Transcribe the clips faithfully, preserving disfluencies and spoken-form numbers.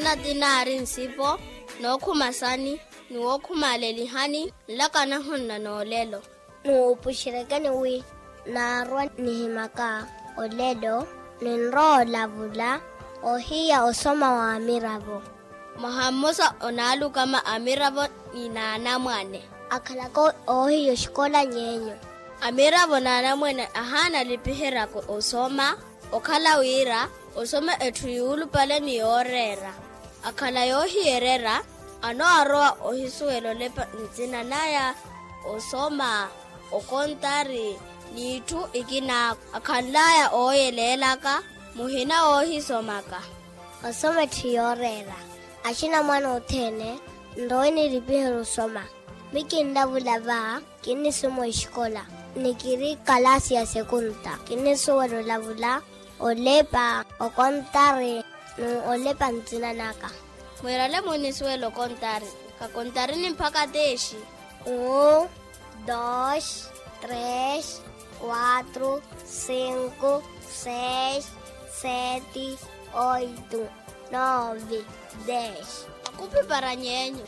Ati naari nsipo, nookhuma sani, ni wookhumaalelihani nlakanahu nna noolelo. Nuupuxerekeni wi naarwa nihimaka olelo, ninrowa olavula ohiya osoma wa amiravo. Mwaha mmosa onaalukama amiravo ni naanamwane. Akhalaka oohiya oxikola ny'enyu. Amiravo naanamwane ahaana alipiheryaka osoma, okhala wira osoma etthu yuulupale ni yooreera. Akhala yoohiyererya, anoowarowa ohisuwela olepa ntsina naya, osoma, okontari, n'itthu ikina. Akhanlaya ooyeleelaka, muhina woohisomaka. Osoma etthu yooreera. Axinamwane othene nrowe nilipiherya osoma. Mi kinlavula va, kinnisoma exikola, ni kiri kalasi ya sekunta. Kinnisuwela olavula, olepa, okontari, ni olepa ntsina naka. Mwiirale munnisuwela okontari. Kakontarini mpakha teexi. Un, dos, tres, quatro, cinco, seis, sete, oito, nove, dez. Akupi para ny'enyu.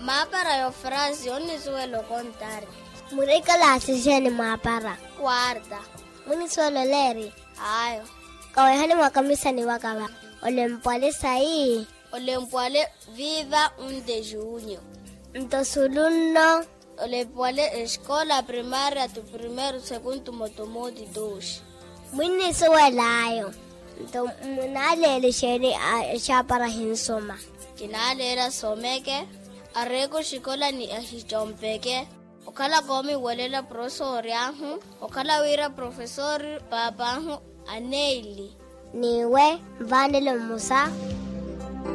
Maapara y'ofransi onnisuwela okontari. Muri kalasi xeeni mwaapara? Quarta. Munnisuwela oleeri? Ayo. Kaweehani mwakamisani waka va. Olempwale sayi. Olempwale viva un de junio. Nto sulu nno. Olempwale exikola primaria tu primeiro segundu motomoti doxi. Mwinnisuwela ayo. Nto munaaleela exeeni? Exaapara hinsoma. Kinaaleela someke, areeka oxikola ni ahicompeke. Okhala koomiwelela profesori ahu, okhala wira profesori paap'ahu aneili. Niwe nvaanelo mmosa.